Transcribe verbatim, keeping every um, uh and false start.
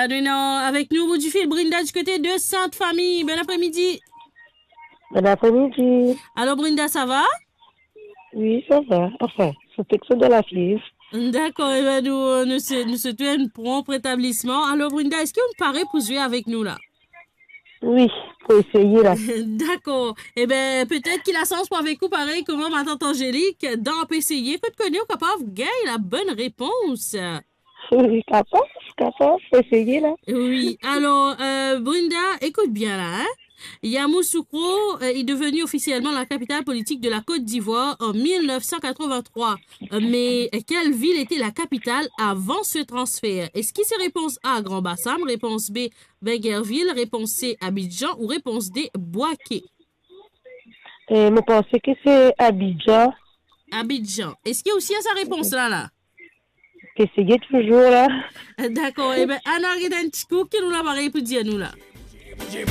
Nou ena avek nou o bout di fil Brinda di kote de Sint Fami. Bon apremidi. Bon apremidi. Alor Brinda, sa va? Wi, sa va. Anfin, so tek so dan lafiv. Dakor, ebe nou, nou se, nou swete enn pronp retablisman. Alor Brinda, eski ou pare pou zwe avek nou la? Wi, pou eseye la. Dakor. Ebe, petet ki lasans pou avek ou parey kouma matant Angelik, dan Pe Eseye, kot kone ou kapav gagn la bonn repons. Wi, kapav, kapav, pou eseye la. Wi, alor, euh, Brinda, écoute bien là, hein. Yamoussoukro, euh, est devenu officiellement la capitale politique de la Côte d'Ivoire en mille neuf cent quatre-vingt-trois. Euh, mais quelle ville était la capitale avant ce transfert? Eski se repons A, Grand Bassam, repons B, Bingerville, repons C, Abidjan ou repons D, Bouaké? Eh, mo panse ki se Abidjan. Abidjan. Eski ou sir sa repons la la? Pe eseye touzour la. Dakor, ebe, ann al get enn ti kou, ki nou la parey pou dir nou la?